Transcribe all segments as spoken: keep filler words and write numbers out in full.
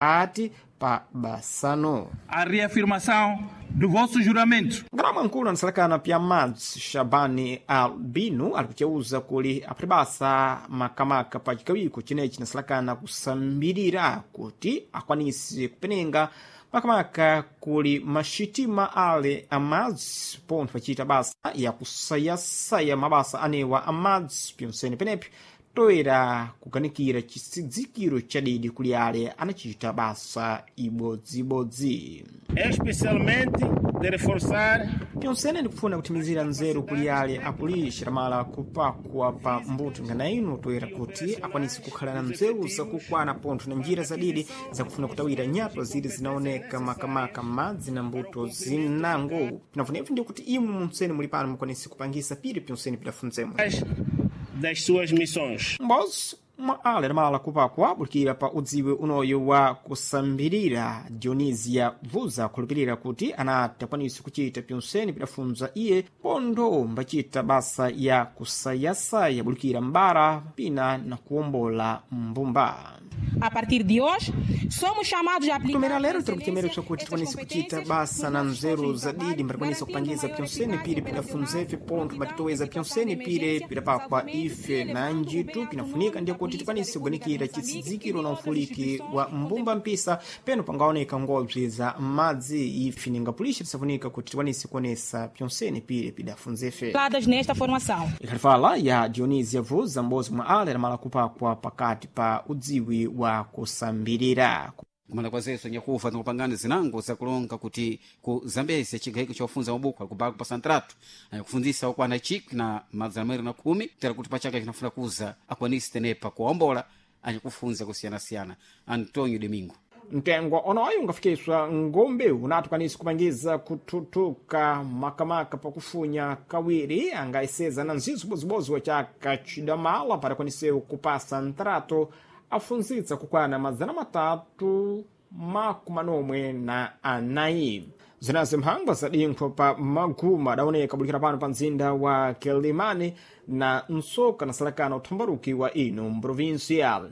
Ati pa basano. A reafirmação do vosso juramento. Ngalama nkulu anasalakana pya madzi Shabani Albino ali kuceuza kuli aphibasa makamaka pa chikawiko chinechi chinasalakana kusambirira kuti akwanise kupenenga makamaka kuli maxitima ale amadzi pontho pachita basa yakusayasaya mabasa anewa amadzi pyonsene penepi toera kukanikira chisidzikiro chadidi kuli ale anachita basa ibodzibodzi. Especialmente de reforçar Pyonsene ndikufuna kuthimizira nzeru kuli ale apulixa mala kupakwa pa mbuto ngana ino toera kuti akwanise kukhala na nzeru zakukwana pontho na njira zadidi zakufuna kutawira nyatwa ziri zinaoneka makamaka madzi na mbuto zinango. Pinafunepo ndi kuti imwe munsene muli pano mukwanise kupangisa piri pyonsene pidafunzemwe das suas missões. Mbozi mwa ale adamala kupakwa bulikira pa udziwe unoyo wa kusambirira Dionisia Vuza khulupirira kuti anati akwanise kuchita pyonsene pidafunza iye pontho mbacita basa ya kusayasaya bulikira mbara pina na kuwombola mbumba. A partir de hoje, somos chamados a aplicar. Kutomera lero tiri kuchemereswa kuti tikwanise kuchita basa na nzeru zadidi mbatikwanisa kupangiza pyonsene pire pidafunzefe pontho mbatitoweza pyonsene pire pidapakwa ife na njitu pinafunika ndiye kuti tikwanise kuganikira chitsidzikiro na ufuliki wa mbumba mpisa peno pangaoneka ngobzi za madzi ife ningapulisha tisafunika kuti tikwanise kuonesa pyonsene pire pidafunzefe. Dadas nesta formação. Ikhalifala ya Dionisia Vuza m'bodzi mwa ale adamala kupakwa pakati pa udziwi wa kusambirira. Kumala kwa zeso nyakufa nikupangana zinango zakulonga kuti ku Zambezi chigayiko chofunza mabuku alikubala kupasa ntratu akufunzisa okwana chikwi na mazana mawiri na khumi kutera kuti pachaka chinafuna kuza akwanise tenepa kuwombola anyakufunza kusiyanasiyana. Antonio Domingo. Mtengo onoyo ungafikiswa ngombe unati ukwanise kupangiza kuthuthuka makamaka pakufunya kawiri angayeseza na nzizo bozibozi wa chaka chidamala para kwanisewu kupasa ntrato afunzitsa kukwana mazana matatu makumi anomwe na anayi. Zinazi mphangwa zadinkhwa pa maguma adaoneka bulikira pano pa mzinda wa Quelimane na nsoka nasalakana uthambaruki wa ino mprovinsia.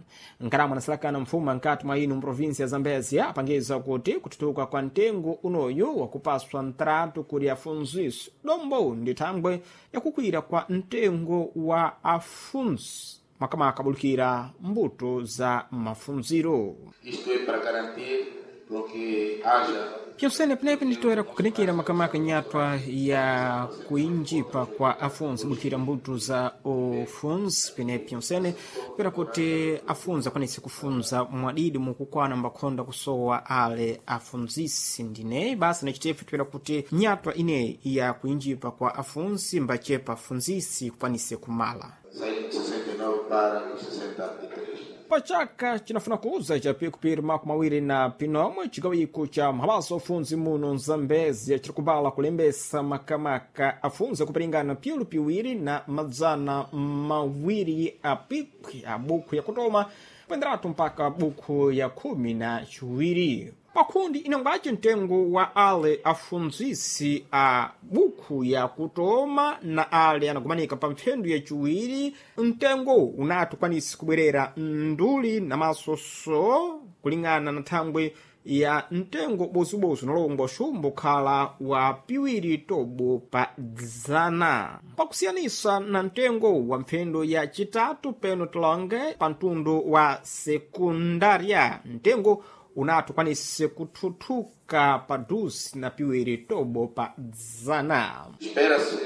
Nkaramo anasalakana mfuma nkati mwa ino mprovinsia ya Zambezia apangiza kuti kuthuthuka kwa mtengo unoyu wakupaswa ntratu kuli afunzisi dombo ndi thangwe yakukwira kwa mtengo wa afunzi makamaka bulikira mbuto za mafunziro. Isto é para garantir com que haja Pyonsene penepe nditoera kukanikira makamaka nyatwa ya kuinjipa kwa afunzi bulikira mbuto za ufunzi pene pyonsene pera kuti afunzi akwanise kufunza mwadidi mukukwana mbakhonda kusowa ale afunzisi ndine basi nachitefe toera kuti nyatwa ineyi ya kuinjipa kwa afunzi mbachepa afunzisi kukwanise kumala. sair de sessenta e nove para os sessenta e três. Pachaka chinafuna kuuza cha pikupiri makumi awiri na pinomwe chigawiko cha mabasa ofunzi muno Mzambezia chirikubala kulembesa makamaka afunzi akupiringana piulu piwiri na madzana mawiri a pikwi a buku yakutoma kuenderatu mpaka buku ya khumi na chiwiri. Pakhundi inangwace mtengo wa ale afunzisi a buku ya kutoma na ale anagumanika pa mphendu ya chiwiri mtengo unati ukwanise kubwerera nduli na masoso kulingana na thangwe ya mtengo bozibozi unalongwa xumbo khala wa piwiri tobo pa dzana pakusiyanisa na mtengo wa mphendu ya chitatu peno tilonge pa mtundu wa sekundaria mtengo unati ukwanise kuthuthuka pa duzi na piwiri tobo pa dzana. Espera-se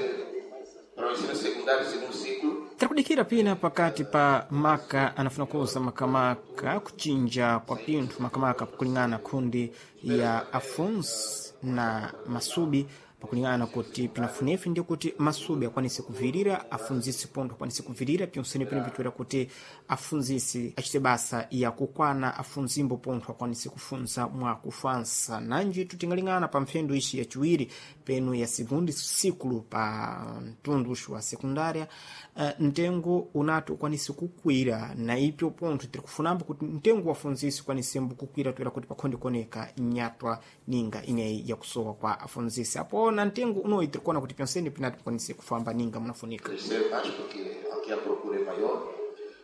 para o ensino secundário segundo ciclo Tirikudikira pina pakati pa maka anafuna kuuza makamaka kuchinja kwa pinthu makamaka pakulingana khundi ya afunzi na masubi pakulingana kuti pinafunefe ndiye kuti masubi akwanise kuvirira afunzisi pontho akwanise kuvirira pyonsene pene pitoera kuti afunzisi achite basa ya kukwana afunzimbo pontho akwanise kufunza mwa kufansa nanji tutingalingana pa mphendu ici yaciwiri peno ya segundo ciclo pa mtundu uxu wa sekundária uh, mtengo unati ukwanise kukwira na ipyo pontho tiri kufunambo kuti mtengo wa afunzisi ukwanisembo kukwira toera kuti pakhonde kuoneka nyatwa ninga ineyi yakusowa kwa afunzisi apo na mtengo unoyi tiri kuona kuti pyonsene pinati pakwanise kufamba ninga munafunika. crescer mais porque aqui a procura é maior.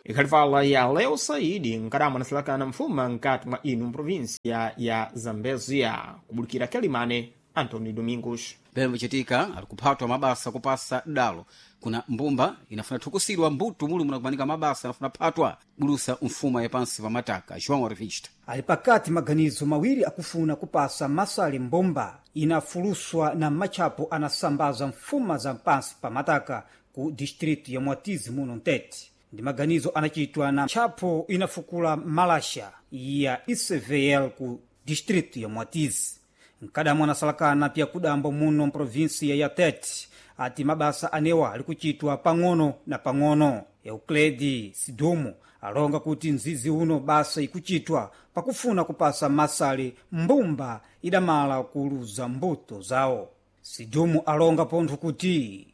Ikhalivala ya Leo Saidi nkadama anasilakana mfuma nkati mwa inu mprovinsia ya Zambezia kubulikira Kelimane Antônio Domingos. Pembe vichitika ali kuphatwa mabasa kupasa dalo kuna mbumba inafuna thukusidwa mbuto muli munakumanika mabasa anafuna phatwa bulusa mfuma ya pansi pa mataka. João Revista Ali pakati maganizo mawiri akufuna kupasa masale mbomba inafuluswa na matchapo anasambaza mfuma za pansi pa mataka ku distritu ya Mwatizi muno Ntete. Ndi maganizo anachitwa na tchapo inafukula malasha ya I C V L ku distritu ya Mwatizi. Nkadamu anasalakana pya kudambo muno mprovinsia ya Tete ati mabasa anewa ali kuchitwa pang'ono na pang'ono. Eucledi Sidumu alonga kuti mzizi uno basa ikuchitwa pakufuna kupasa masale mbumba idamala kuluza mbuto zawo. Sidumu alonga pontho kuti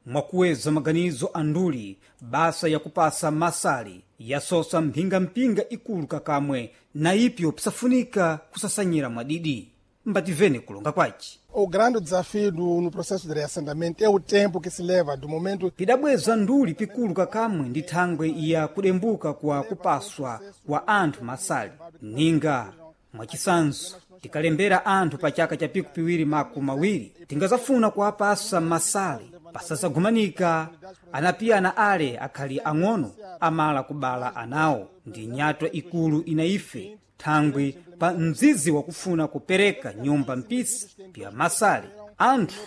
mwakuweza maganizo anduli basa yakupasa masale yasosa mphingamphinga ikulu kakamwe na ipyo pisafunika kusasanyira mwadidi. Mbativene kulonga kwaci. O grande desafio do, no processo de reassentamento é o tempo que se leva do momento Pidabweza nduli pikulu kakamwe ndi thangwe ya kudembuka kwa kupaswa kwa anthu masale. Ninga mwachisanzo tikalembera anthu pa chaka cha piku piwiri maku mawiri tingazafuna kuwapasa masale pasazagumanika anapiyana ale akhali ang'ono amala kubala anawo. Ndi nyatwa ikulu ina ife thangwi pa mzizi wakufuna kupereka nyumba mpisi pya masale anthu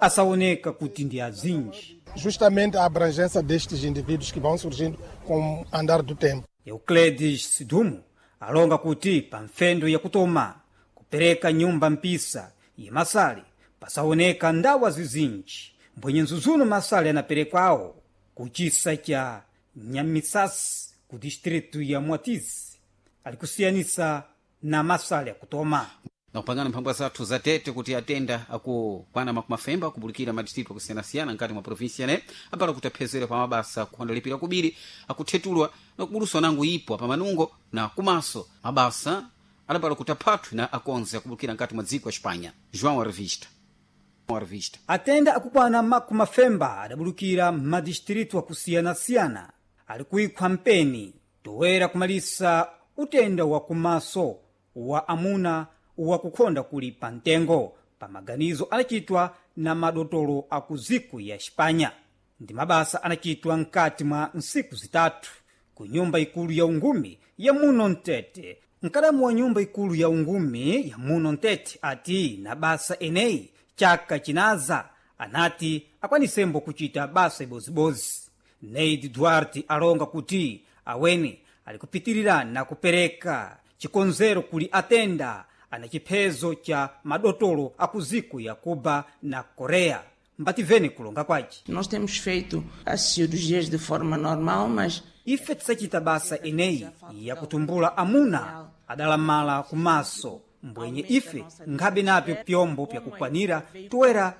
asaoneka kuti ndi azinji. justamente a abrangência destes indivíduos que vão surgindo com o andar do tempo. Euclides Sidumo alonga kuti pa mfendo yakutoma kupereka nyumba mpisa ya masale pasaoneka ndawa zizinji mbwenye nzuzuno masale anaperekwawo ku chisa cha Nyamisasi ku distritu ya Mwatizi alikusiyanisa na masale akutoma. Na kupangana mphangwa zathu za Tete kuti atenda akukwana makumafemba kubulikira madistritu akusiyanasiyana nkati mwa provinsia ne apala kuti aphezere pa mabasa kuhandalipira kubiri akuthetulwa na kubuluswa nangu ipo pa manungo na kumaso mabasa adapala kuti aphathwe na akonze akubulikira nkati mwa dziko ya Espanha. João Revista. Revista. Atenda akukwana makumafemba adabulukira madistritu akusiyana-siyana ali kuikhwa mpeni toera kumalisa utenda wa kumaso wa amuna wakukhonda kuli pa mtengo pa maganizo anachitwa na madotolo aku ziku ya Xipanya. Ndi mabasa anachitwa mkati mwa nsiku zitatu ku nyumba ikulu ya ungumi ya muno Mtete. Mkadamu wa nyumba ikulu ya ungumi ya muno Mtete ati na basa eneyi chaka chinaza anati akwanisembo kuchita basa ibozibozi. Neid Duarte alonga kuti aweni alikupitirira na kupereka chikonzero kuli atenda ana chiphezo cha madotolo akuziku ya Cuba na Korea. Mbativene kulonga kwaci. Nós temos feito as cirurgias de forma normal, mas Ife tisachita basa eneyi yakutumbula amuna adalamala kumaso mbwenye ife nkhabe napyo pyombo pyakukwanira toera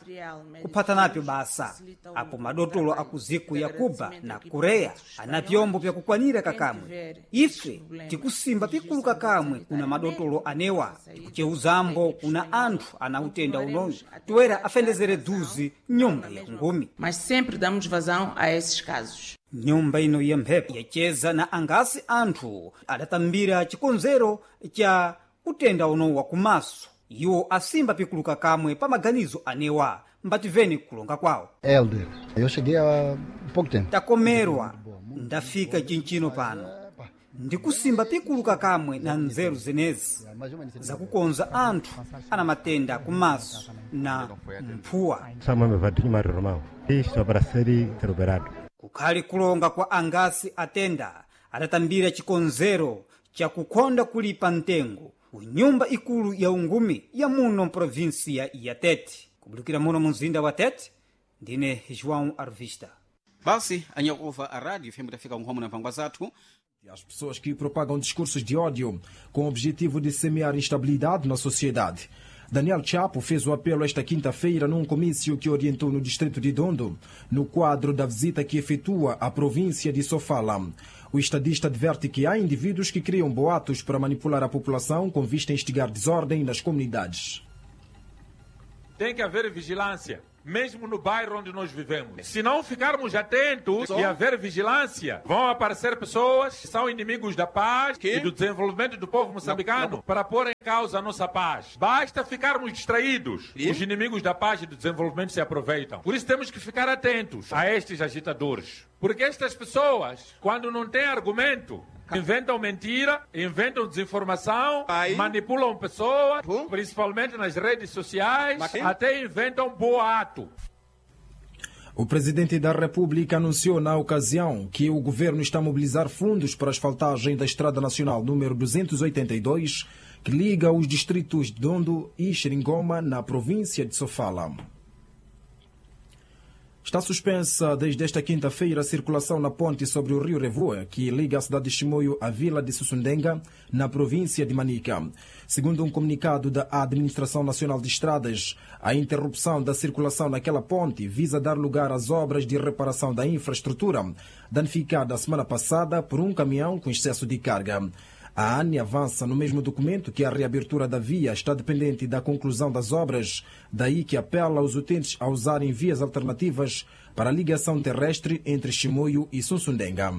kuphata napyo basa. Apo madotolo aku ziku ya Cuba na Korea ana pyombo pyakukwanira kakamwe. Ife tikusimba pikulu kakamwe kuna madotolo anewa, tikucheuzambo kuna anthu ana utenda unoyu toera afendezere duzi nyumba ya kungumi. mas sempre damos vazão a esses casos. Nyumba ino ya mphepo yacheza na angasi anthu adatambira chikonzero cha utenda uno wakumaso. Iwo asimba pikuluka kamwe pa maganizo anewa. Mbativeni kulonga kwawo. Helder, eu cheguei há pouco tempo. Takomerwa ndafika chinchino pano ndikusimba pikuluka kamwe na nzeru zenezi zakukonza anthu ana matenda kumaso na mphuwa. Chama-me Vadinho Mário Romão. Isto para ser operado. Kukhali kulonga kwa angasi atenda adatambira chikonzero chakukhonda kulipa mtengo ku nyumba ikulu ya ungumi ya muno mprovinsia ya Tete. Kubulikira muno mu mzinda wa Tete, ndine João Arvista. Basi anyakuva a rádio F M tafika nkhomo na mphangwa zathu. As pessoas que propagam discursos de ódio com o objetivo de semear instabilidade na sociedade. Daniel Chapo fez o apelo esta quinta-feira num comício que orientou no distrito de Dondo, no quadro da visita que efetua à província de Sofala. O estadista adverte que há indivíduos que criam boatos para manipular a população com vista a instigar desordem nas comunidades. Tem que haver vigilância. mesmo no bairro onde nós vivemos. Se não ficarmos atentos e haver vigilância, vão aparecer pessoas que são inimigos da paz e do desenvolvimento do povo moçambicano para pôr em causa a nossa paz. Basta ficarmos distraídos. Os inimigos da paz e do desenvolvimento se aproveitam. Por isso temos que ficar atentos a estes agitadores. Porque estas pessoas, quando não têm argumento, inventam mentira, inventam desinformação, manipulam pessoas, principalmente nas redes sociais, até inventam boato. O presidente da República anunciou na ocasião que o governo está a mobilizar fundos para a asfaltagem da Estrada Nacional número duzentos e oitenta e dois, que liga os distritos de Dondo e Xeringoma, na província de Sofala. Está suspensa desde esta quinta-feira a circulação na ponte sobre o rio Revoa, que liga a cidade de Chimoio à vila de Sussundenga, na província de Manica. Segundo um comunicado da Administração Nacional de Estradas, a interrupção da circulação naquela ponte visa dar lugar às obras de reparação da infraestrutura, danificada a semana passada por um caminhão com excesso de carga. A ANE avança no mesmo documento que a reabertura da via está dependente da conclusão das obras, daí que apela aos utentes a usarem vias alternativas para a ligação terrestre entre Chimoio e Sussundenga.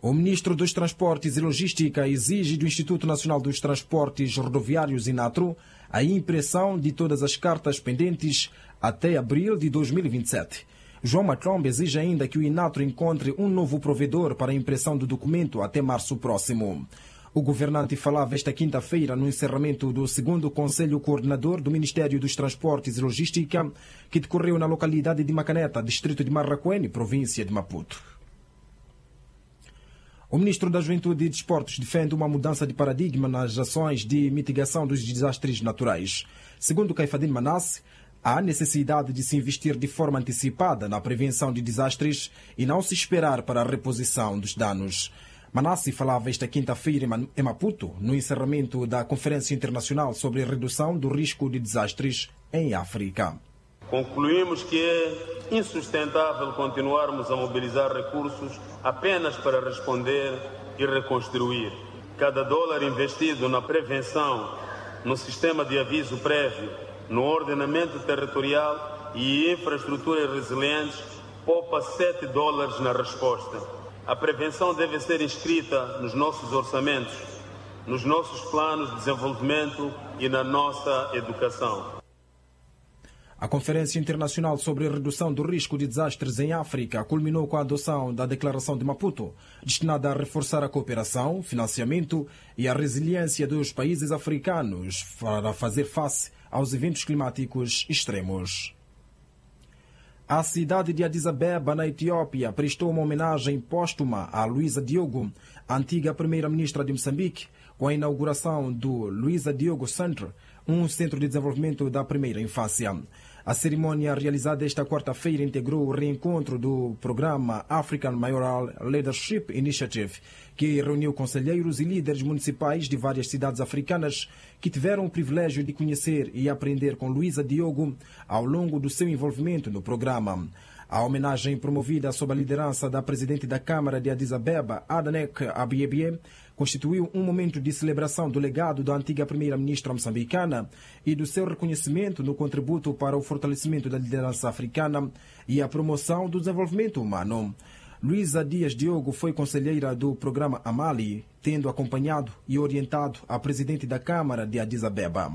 O ministro dos Transportes e Logística exige do Instituto Nacional dos Transportes Rodoviários, INATRO, a impressão de todas as cartas pendentes até abril de dois mil e vinte e sete. João Maclombe exige ainda que o INATRO encontre um novo provedor para a impressão do documento até março próximo. O governante falava esta quinta-feira no encerramento do segundo Conselho Coordenador do Ministério dos Transportes e Logística, que decorreu na localidade de Macaneta, distrito de Marracuene, província de Maputo. O ministro da Juventude e Desportos defende uma mudança de paradigma nas ações de mitigação dos desastres naturais. Segundo Caifadine Manasse, há necessidade de se investir de forma antecipada na prevenção de desastres e não se esperar para a reposição dos danos. Manasse falava esta quinta-feira em Maputo, no encerramento da Conferência Internacional sobre a Redução do Risco de Desastres em África. Concluímos que é insustentável continuarmos a mobilizar recursos apenas para responder e reconstruir. Cada dólar investido na prevenção, no sistema de aviso prévio, no ordenamento territorial e infraestruturas resilientes, poupa sete dólares na resposta. A prevenção deve ser inscrita nos nossos orçamentos, nos nossos planos de desenvolvimento e na nossa educação. A Conferência Internacional sobre a Redução do Risco de Desastres em África culminou com a adoção da Declaração de Maputo, destinada a reforçar a cooperação, financiamento e a resiliência dos países africanos para fazer face aos eventos climáticos extremos. A cidade de Addis Abeba, na Etiópia, prestou uma homenagem póstuma a Luísa Diogo, antiga primeira-ministra de Moçambique, com a inauguração do Luísa Diogo Center, um centro de desenvolvimento da primeira infância. A cerimônia realizada esta quarta-feira integrou o reencontro do programa African Mayoral Leadership Initiative, que reuniu conselheiros e líderes municipais de várias cidades africanas que tiveram o privilégio de conhecer e aprender com Luísa Diogo ao longo do seu envolvimento no programa. A homenagem, promovida sob a liderança da presidente da Câmara de Addis Abeba, Adanek Abiebie, constituiu um momento de celebração do legado da antiga primeira-ministra moçambicana e do seu reconhecimento no contributo para o fortalecimento da liderança africana e a promoção do desenvolvimento humano. Luísa Dias Diogo foi conselheira do programa Amali, tendo acompanhado e orientado a presidente da Câmara de Addis Abeba.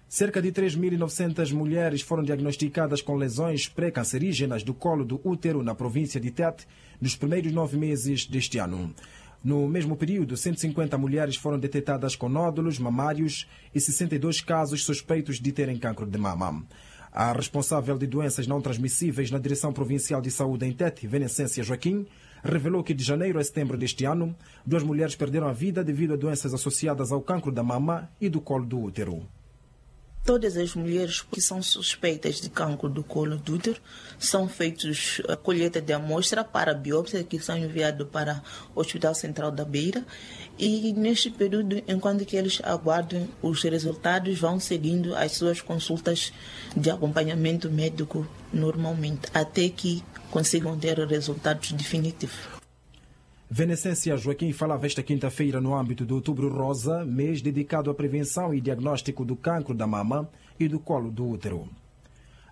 Cerca de três mil e novecentas mulheres foram diagnosticadas com lesões pré-cancerígenas do colo do útero na província de Tete nos primeiros nove meses deste ano. No mesmo período, cento e cinquenta mulheres foram detectadas com nódulos mamários e sessenta e dois casos suspeitos de terem cancro de mama. A responsável de doenças não transmissíveis na Direção Provincial de Saúde em Tete, Venecência Joaquim, revelou que de janeiro a setembro deste ano, duas mulheres perderam a vida devido a doenças associadas ao cancro da mama e do colo do útero. Todas as mulheres que são suspeitas de cancro do colo do útero são feitas a colheita de amostra para a biópsia, que são enviadas para o Hospital Central da Beira. E neste período, enquanto que eles aguardam os resultados, vão seguindo as suas consultas de acompanhamento médico normalmente, até que consigam ter resultados definitivos. Venecência Joaquim falava esta quinta-feira no âmbito do Outubro Rosa, mês dedicado à prevenção e diagnóstico do cancro da mama e do colo do útero.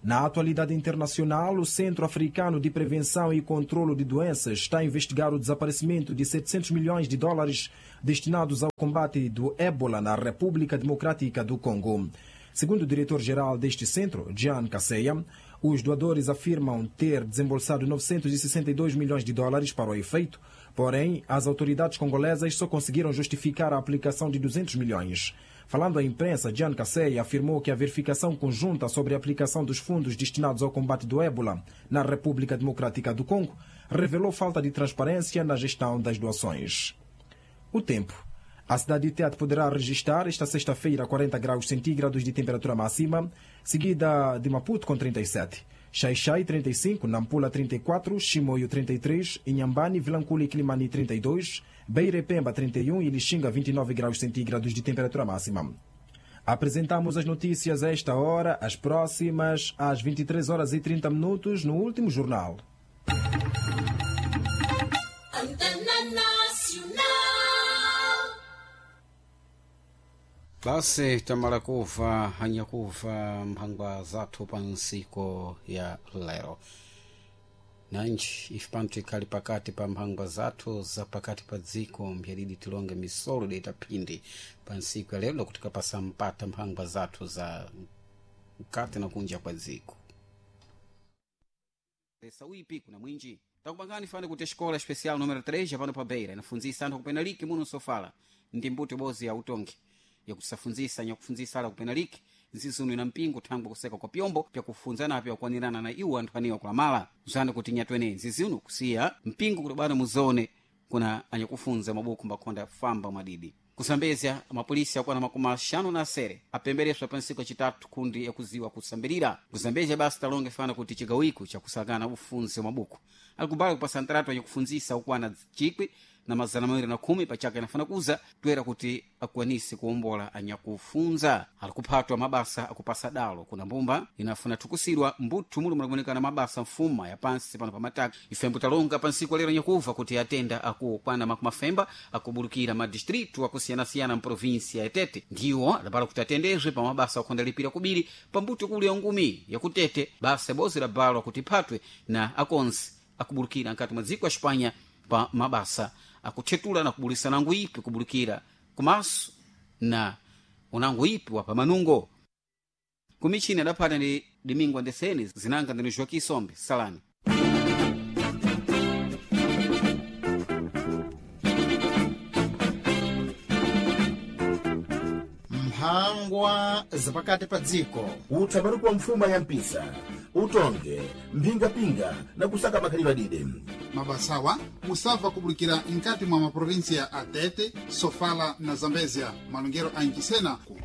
Na atualidade internacional, o Centro Africano de Prevenção e Controlo de Doenças está a investigar o desaparecimento de setecentos milhões de dólares destinados ao combate do ébola na República Democrática do Congo. Segundo o diretor-geral deste centro, Jean Kaseya, os doadores afirmam ter desembolsado novecentos e sessenta e dois milhões de dólares para o efeito, porém, as autoridades congolesas só conseguiram justificar a aplicação de duzentos milhões. Falando à imprensa, Jean Kaseya afirmou que a verificação conjunta sobre a aplicação dos fundos destinados ao combate do ébola na República Democrática do Congo revelou falta de transparência na gestão das doações. O tempo. A cidade de Tete poderá registrar esta sexta-feira quarenta graus centígrados de temperatura máxima, seguida de Maputo com trinta e sete, Xai-Xai trinta e cinco, Nampula trinta e quatro, Chimoio trinta e três, Inhambane, Vilanculo e Quilimani trinta e dois, Beira e Pemba trinta e um e Lixinga vinte e nove graus centígrados de temperatura máxima. Apresentamos as notícias a esta hora, as próximas às vinte e três horas e trinta minutos no último jornal. Basi tamala kuva hanyakuva mphangwa zathu pa nsiku ya lero nanji ife pano tikhali pakati pa mphangwa zathu za pakati pa dziko mphyalidi tilonge misolo deta phindi pa nsiku ya lero lokuti kapasa mpata mphangwa zathu za mkati na kunja kwa dziko sauipi kuna mwinji takupangani fani kuti escola especial número três yapano pa Beira inafunzisa anthu akupena liki muno sofala ndi mbuto bozi ya utongi yakusafunzisa nyakufunzisa ala kupena liki nzizuno ina mpingo thangwe kuseka kwa pyombo pyakufunzana pyakuwanirana na iwo anthu aniwa kulamala zana kuti nyatwene nzizuno kusiya mpingo kutobana muzone kuna anyakufunza mabuku mbakhonda famba mwadidi kusambezya mapolisi akwana makumi axanu na asere apembereswa pa ntsiku yacitatu kundi yakuziwa kusambirira kusambezya basi talonge fana kuti cigawiko cakusakana ufunzi wa mabuku alikubala kupasa ntratu anyakufunzisa ukwana cikwi na mazana mawiri na khumi pachaka inafana kuza toera kuti akwanise kuwombola anyakufunza alikuphatwa mabasa akupasa dalo kuna mbumba inafuna thukusidwa mbuthu muli munakuonekana mabasa mfuma ya pansi pano pamataka ifembo talonga pa ntsiku lero nyakuva kuti atenda akukwana makumi afemba akubulukira madistritu akusiyanasiyana mprovinsia ya Tete ndiwo adapala kuti atendezwe pa mabasa akhondalipira kubiri pambuto kuli ya ngumi yakutete basa bozi labalwa kuti iphatwe na akonzi akubulukira nkati mwa dziko ya Espanha pa mabasa akuthetula na kubulisana nguipi kubulikira kumaso na unango ipi wa pamanungo kumichini adaphata ndi Domingo Andeseni zinanga ndini Joaquim Sombe salani mphangwa zapakati pa dziko utsaparuku wa mfuma ya mpisa utonge mphingapinga na kusaka makhalidwe adide mabasawa musabva kubulikira nkati mwa maprovinsia a Tete, Sofala na Zambezia malongero a Ncisena ku